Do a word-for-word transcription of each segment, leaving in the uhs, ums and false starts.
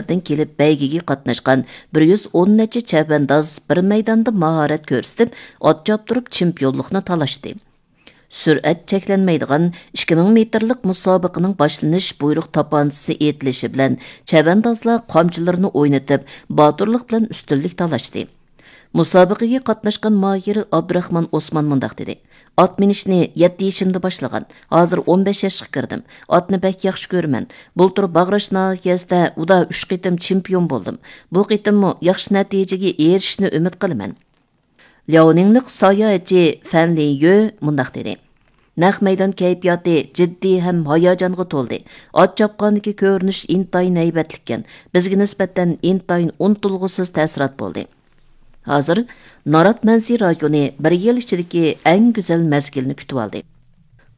دىن كېلىپ بەيگىگە قاتناشقان بىر يۈز ئون نەچچە چەۋەنداز بىر مەيداندا ماھارەت كۆرسىتىپ، ئات چاپتۇرۇپ چېمپىيونلۇقنى تالاشتى. سۈرئەت چەكلەنمەيدىغان ئىككى مىڭ مېتىرلىق مۇسابىقىنىڭ باشلىنىش بۇيرۇق تاپانچىسى ئېيتىلىشى بىلەن چەۋەندازلار قامچىلىرىنى ئوينىتىپ، باتۇرلۇق بىلەن ئۈستۈنلۈك تالاشتى. مۇسابىقىگە قاتناشقان ماھىر ئابدۇراخمان ئوسمان مۇنداق دېدى: «ئات مىنىشنى يەتتە يېشىمدا باشلىغان. ھازىر ئون بەش ياشقا كىردىم. ئاتنى بەك ياخشى كۆرىمەن. بۇلتۇر باغراش ناھىيەسىدە ئۇدا ئۈچ قېتىم چېمپىيون بولدۇم. بۇ قېتىممۇ ياخشى نەتىجىگە ئېرىشىشنى ئۈمىد قىلىمەن.» لياۋنىڭلىق ساياھەتچى فەن لىنيۆ مۇنداق دېدى: «نەق مەيدان كەيپىياتى جىددىي ھەم ھاياجانغا تولدى. ئات چاپقاندىكى كۆرۈنۈش ئىنتايىن ھەيۋەتلىككەن. بىزگە نىسبەتەن ئىنتايىن ئۇنتۇلغۇسىز تەسىرات بولدى.» ھازىر نارات مەنزىرە رايونى بىر يىل ئىچىدىكى ئەڭ گۈزەل مەزگىلنى كۈتۈۋالدى.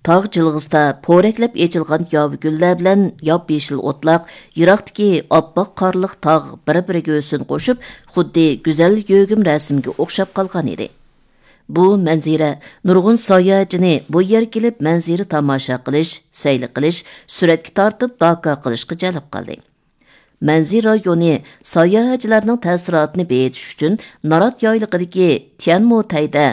تاغ جىلغىسىدا پورەكلەپ ئېچىلغان ياۋا گۈللەر بىلەن ياپيېشىل ئوتلاق، يىراقتىكى ئاپئاق قارلىق تاغ بىر-بىرىگە ھۆسن قوشۇپ، خۇددى گۈزەل يۆگىمە رەسىمگە ئوخشاپ قالغان ئىدى. بۇ مەنزىرە نۇرغۇن ساياھەتچىنى بۇ يەرگە كېلىپ مەنزىرە تاماشا قىلىش، سەيلە قىلىش، سۈرەتكە تارتىپ داكا قىلىشقا جەلپ قىلدى. مەنزىرە رايونى ساياھەتچىلەرنىڭ تەسىراتىنى بېيىتىش ئۈچۈن نارات يايلىقىدىكى تيەنموتەيدە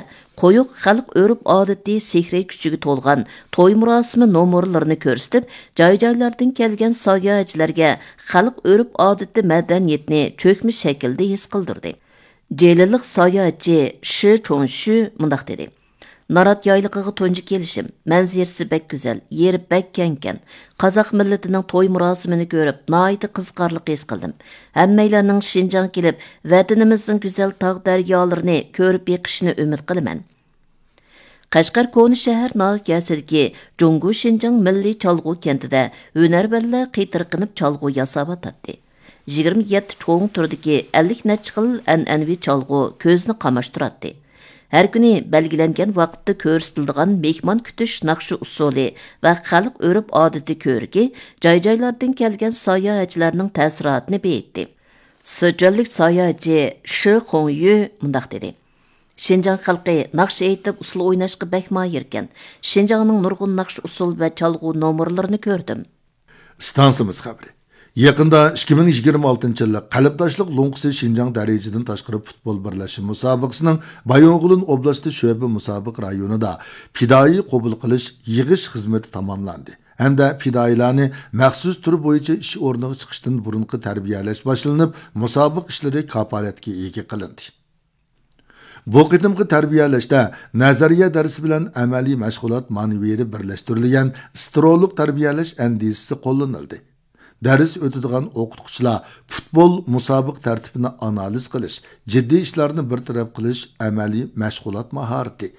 قويۇق خەلق ئۆرپ-ئادىتى سېھرىي كۈچىگە تولغان توي مۇراسىمى نومۇرلىرىنى كۆرسىتىپ، جاي-جايلاردىن كەلگەن ساياھەتچىلەرگە خەلق ئۆرپ-ئادىتى مەدەنىيىتىنى چۆكمە شەكىلدە ھېس قىلدۇردى. جېلىلىق ساياھەتچى شى چوڭشۈ مۇنداق دېدى: «نارات يايلىقىغا تۇنجى كېلىشىم. مەنزىرىسى بەك گۈزەل، يېرى بەك كەڭكەن. قازاق مىللىتىنىڭ توي مۇراسىمىنى كۆرۈپ، ناھايىتى قىزىقارلىق ھېس قىلدىم. ھەممەيلەننىڭ شىنجاڭغا كېلىپ، ۋەتىنىمىزنىڭ گۈزەل تاغ دەريالىرىنى كۆرۈپ بېقىشىنى ئۈمىد قىلىمەن.» قەشقەر كونا شەھەر ناھىيەسىدىكى جۇڭگو شىنجاڭ مىللىي چالغۇ كەنتىدە ھۈنەرۋەنلەر قېتىرقىنىپ چالغۇ ياساۋاتاتتى. يىگىرمە يەتتە چوڭ تۈردىكى ئەللىك نەچچە خىل ئەنئەنىۋى چالغۇ كۆزنى قاماشتۇراتتى. ھەر كۈنى بەلگىلەنگەن ۋاقىتتا كۆرسىتىلىدىغان مېھمان كۈتۈش ناخشا ئۇسسۇلى ۋە خەلق ئۆرپ-ئادىتى كۆركى جاي-جايلاردىن كەلگەن ساياھەتچىلەرنىڭ تەسىراتىنى بېيىتتى. سىچۈەنلىك ساياھەتچى شى خۇڭيۈ مۇنداق دېدى: «شىنجاڭ خەلقى ناخشا ئېيتىپ، ئۇسسۇل ئويناشقا بەك ماھىركەن. شىنجاڭنىڭ نۇرغۇن ناخشا ئۇسسۇل ۋە چالغۇ نومۇرلىرىنى كۆردۈم.» ئىستانسىمىز خەۋىرى. يېقىندا ئىككى مىڭ يىگىرمە ئالتىنچى يىللىق قەلبداشلىق لوڭقىسى شىنجاڭ دەرىجىدىن تاشقىرى پۇتبول بىرلەشمە مۇسابىقىسىنىڭ بايىنغولىن ئوبلاستى شۆبە مۇسابىقە رايونىدا پىدائىي قوبۇل قىلىش يىغىش خىزمىتى تاماملاندى ھەمدە پىدائىيلارنى مەخسۇس تۈر بويىچە ئىش ئورنىغا چىقىشتىن بۇرۇنقى تەربىيەلەش باشلىنىپ، مۇسابىقە ئىشلىرى كاپالەتكە ئىگە قىلىندى. بۇ قېتىمقى تەربىيەلەشتە نەزەرىيە دەرسى بىلەن ئەمەلىي مەشغۇلات مانېۋىرى بىرلەشتۈرۈلگەن ستېرېئولۇق تەربىيەلەش ئەندىزىسى قوللىنىلدى. دەرس ئۆتىدىغان ئوقۇتقۇچىلار پۇتبول مۇسابىقە تەرتىپىنى ئانالىز قىلىش، جىددىي ئىشلارنى بىر تەرەپ قىلىش ئەمەلىي مەشغۇلات ماھارىتى،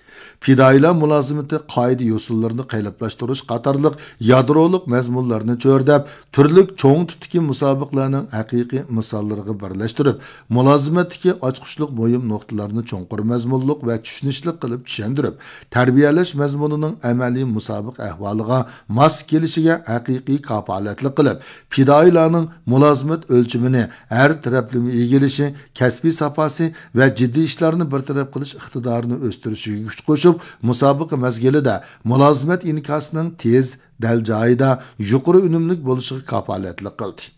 پىدائىيلار مۇلازىمىتى قائىدە-يوسۇنلىرىنى قېلىپلاشتۇرۇش قاتارلىق يادرولۇق مەزمۇنلارنى چۆرىدەپ، تۈرلۈك چوڭ تىپتىكى مۇسابىقىلەرنىڭ ھەقىقىي مىساللىرىغا بىرلەشتۈرۈپ، مۇلازىمەتتىكى ئاچقۇچلۇق مۇھىم نۇقتىلارنى چوڭقۇر مەزمۇنلۇق ۋە چۈشىنىشلىك قىلىپ چۈشەندۈرۈپ، تەربىيەلەش مەزمۇنىنىڭ ئەمەلىي مۇسابىقە ئەھۋالىغا ماس كېلىشىگە ھەقىقىي كاپالەتلىك قىلىپ، پىدائىيلارنىڭ مۇلازىمەت ئۆلچىمىنى ھەر تەرەپلىمە ئىگىلىشى، كەسپىي ساپاسى ۋە جىددىي ئىشلارنى بىر تەرەپ قىلىش ئىقتىدارىنى ئۆستۈرۈشىگە كۈچ قوشۇپ، مۇسابىقە مەزگىلىدە مۇلازىمەت ئىنكاسىنىڭ تېز، دەل جايىدا، يۇقىرى ئۈنۈملۈك بولۇشىغا كاپالەتلىك قىلدى.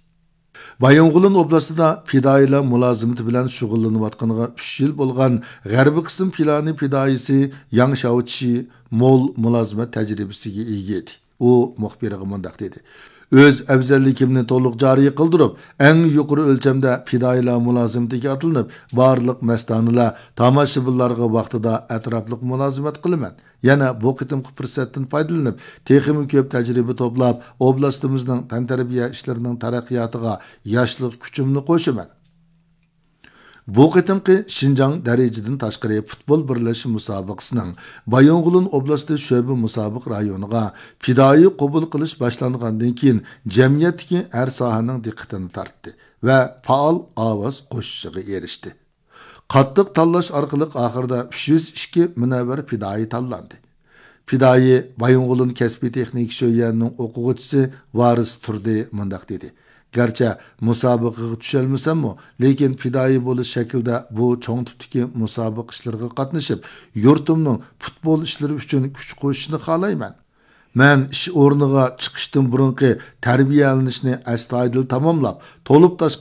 بايىنغولىن ئوبلاستىدا پىدائىيلار مۇلازىمىتى بىلەن شۇغۇللىنىۋاتقىنىغا ئۈچ يىل بولغان غەربىي قىسىم پىلانى پىدائىيسى ياڭ شياۋچى مول مۇلازىمەت تەجرىبىسىگە ئىگە ئىدى. ئۇ مۇخبىرغا مۇنداق دېدى: «ئۆز ئەۋزەللىكىمنى تولۇق جارى قىلدۇرۇپ، ئەڭ يۇقىرى ئۆلچەمدە پىدائىيلار مۇلازىمىتىگە ئاتلىنىپ، بارلىق مەستانىلەر، تاماشىبىنلارغا ۋاقتىدا ئەتراپلىق مۇلازىمەت قىلىمەن. يەنە بۇ قېتىمقى پۇرسەتتىن پايدىلىنىپ، تېخىمۇ كۆپ تەجرىبە توپلاپ، ئوبلاستىمىزنىڭ تەنتەربىيە ئىشلىرىنىڭ تەرەققىياتىغا ياشلىق كۈچۈمنى قوشىمەن.» بۇ قېتىمقى شىنجاڭ دەرىجىدىن تاشقىرى پۇتبول بىرلەشمە مۇسابىقىسىنىڭ بايىنغولىن ئوبلاستى شۆبە مۇسابىقە رايونىغا پىدائىي قوبۇل قىلىش باشلانغاندىن كېيىن، جەمئىيەتتىكى ھەر ساھەنىڭ دىققىتىنى تارتتى ۋە پائال ئاۋاز قوشۇشىغا ئېرىشتى. قاتتىق تاللاش ئارقىلىق ئاخىرىدا ئۈچ يۈز ئىككى مۇنەۋۋەر پىدائىي تاللاندى. پىدائىي بايىنغولىن كەسپىي تېخنىكا شۆيۈەنىنىڭ ئوقۇغۇچىسى ۋارىس تۇردى مۇنداق دېدى: «گەرچە مۇسابىقىگە چۈشەلمىسەممۇ، لېكىن پىدائىي بولۇش شەكلىدە بۇ چوڭ تىپتىكى مۇسابىقە ئىشلىرىغا قاتنىشىپ، يۇرتۇمنىڭ پۇتبول ئىشلىرى ئۈچۈن كۈچ قوشۇشىنى خالايمەن. مەن ئىش ئورنىغا چىقىشتىن بۇرۇنقى تەربىيەلىنىشنى ئەستايىدىل تاماملاپ، تولۇپ تاشقان